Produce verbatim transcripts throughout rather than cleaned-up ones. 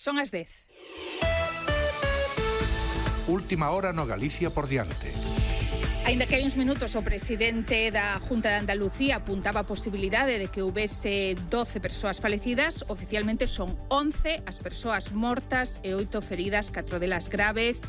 Son as dez. Última hora no Galicia por diante. Aínda que hai uns minutos o presidente da Junta de Andalucía apuntaba a posibilidade de que houbese doce persoas falecidas, oficialmente son once as persoas mortas e oito feridas, catro delas graves.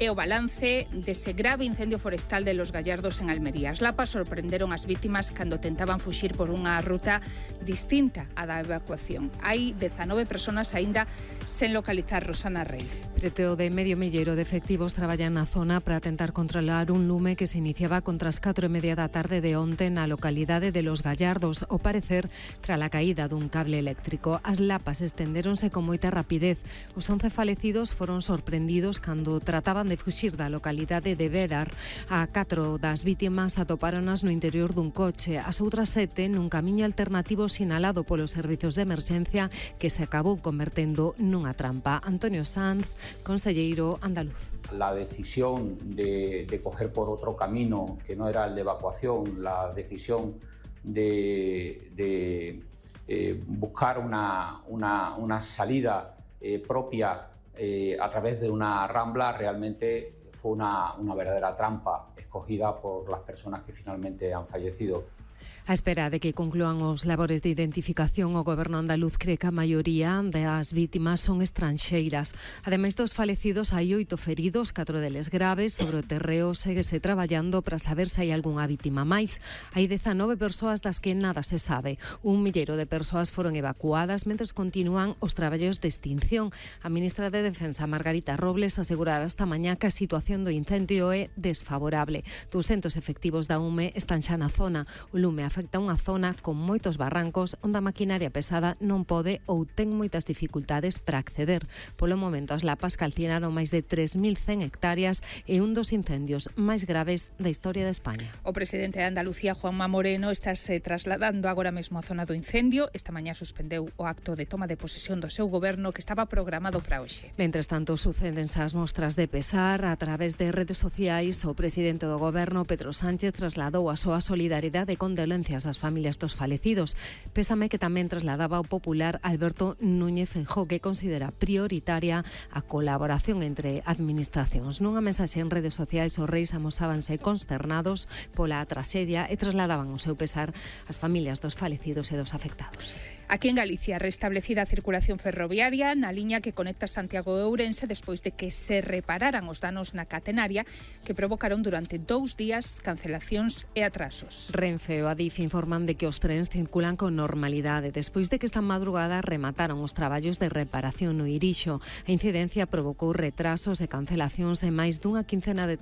É o balance dese grave incendio forestal de Los Gallardos en Almería. As lapas sorprenderon as vítimas cando tentaban fuxir por unha ruta distinta á da evacuación. Hai dezanove persoas aínda sen localizar. Rosana Rey. Preto de medio milleiro de efectivos traballan na zona para tentar controlar un lume que se iniciaba contra as catro e media da tarde de onte na localidade de Los Gallardos, ao parecer tras a caída dun cable eléctrico. As lapas estendéronse con moita rapidez. Os once falecidos foron sorprendidos cando trataban de fuxir da localidade de Bédar. A catro das vítimas atopáronas no interior dun coche, as outras sete nun camiño alternativo sinalado polos servizos de emerxencia que se acabou convertendo nunha trampa. Antonio Sanz, conselleiro andaluz. La decisión de, de coger por otro camino que no era el de evacuación, la decisión de, de eh, buscar una, una, una salida eh, propia Eh, a través de una rambla, realmente fue una, una verdadera trampa escogida por las personas que finalmente han fallecido. A espera de que conclúan os labores de identificación, o Goberno andaluz cree que a maioría das vítimas son estranxeiras. Ademais dos falecidos, hai oito feridos, catro deles graves. Sobre o terreo séguese traballando para saber se hai algunha vítima máis. Hai dezanove persoas das que nada se sabe. Un milleiro de persoas foron evacuadas mentres continúan os traballos de extinción. A ministra de Defensa, Margarita Robles, aseguraba esta mañá que a situación do incendio é desfavorable. ducentos efectivos da U M E están xa na zona. O lume afecta unha zona con moitos barrancos onde a maquinaria pesada non pode ou ten moitas dificultades para acceder. Polo momento, as lapas calcinaron máis de tres mil cen hectáreas e un dos incendios máis graves da historia de España. O presidente de Andalucía, Juanma Moreno, está se trasladando agora mesmo á zona do incendio. Esta mañá suspendeu o acto de toma de posesión do seu goberno que estaba programado para hoxe. Mentres tanto, sucédense as mostras de pesar. A través de redes sociais, o presidente do goberno, Pedro Sánchez, trasladou a súa solidariedade e condolencias ás familias dos falecidos. Pésame que tamén trasladaba o popular Alberto Núñez Feijóo, que considera prioritaria a colaboración entre administracións. Nunha mensaxe en redes sociais, os reis amosábanse consternados pola traxedia e trasladaban o seu pesar ás familias dos falecidos e dos afectados. Aquí en Galicia, restablecida a circulación ferroviaria na liña que conecta Santiago e Ourense despois de que se repararan os danos na catenaria que provocaron durante dous días cancelacións e atrasos. Renfe e o Adif informan de que os trens circulan con normalidade despois de que esta madrugada remataron os traballos de reparación no Irixo. A incidencia provocou retrasos e cancelacións en máis dunha quincena de